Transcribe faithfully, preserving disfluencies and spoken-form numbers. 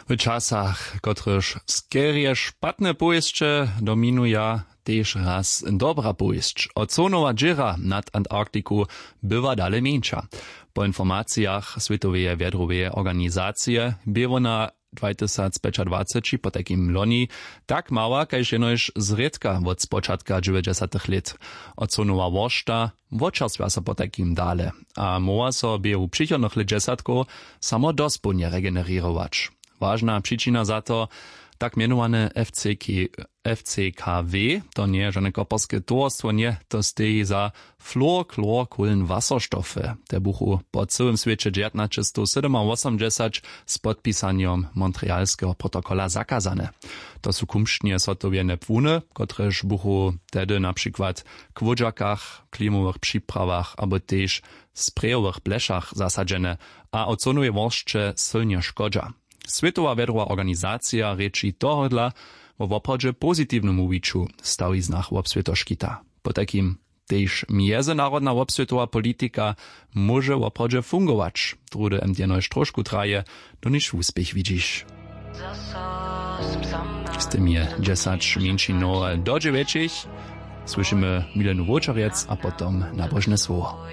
W časach, kotrychž skerje špatne powěsće dominuja, tež raz dobra powěsć. Ozonowa dźěra nad Antarktiku bywa dale mjeńša. Po informacijach Swětoweje wjedroweje organizacije bě wona dwajtysacpjećadwaceći potajkim loni tak mała kaž jenož zrědka wot spočatka dźewjećdźesatych lět. Ozonowa woršta wočerstwja so potajkim dale a móhła so běhu přichodnych lětdźesatkow samo dospołnje regenererować. Wažna přičina za to, tak mjenowane FCK, FCKW, to njeje žane koperske towarstwo, nje, to steji za fluorchlorkohlenwasserstoffy. Te buchu po cyłym swěće dźewjatnaćestowsydomawosomdźesać z podpisanjom Montrealskeho protokola zakazane. To su kumšćnje zhotowjene płuny, kotrež buchu tehdy na přikład k wódźakach, klimowych připravach abo tež sprějowych blešach zasadźene a ozonowej woršće sylnje škodźa. Swětowa wjedrowa organizacija rěči tohodla wo woprawdźe pozitiwnym wuwiću w stawiznach wobswětoškita. Potajkim tež mjezynarodna wobswětowa politika móže woprawdźe fungować, druhdy jen jenož trošku traje, doniž wuspěch widźiš. Z tym je dźesać mjeńšinowe do dźewjećich. Słyšimy milenu wowčerjec a potom nabožne słowo.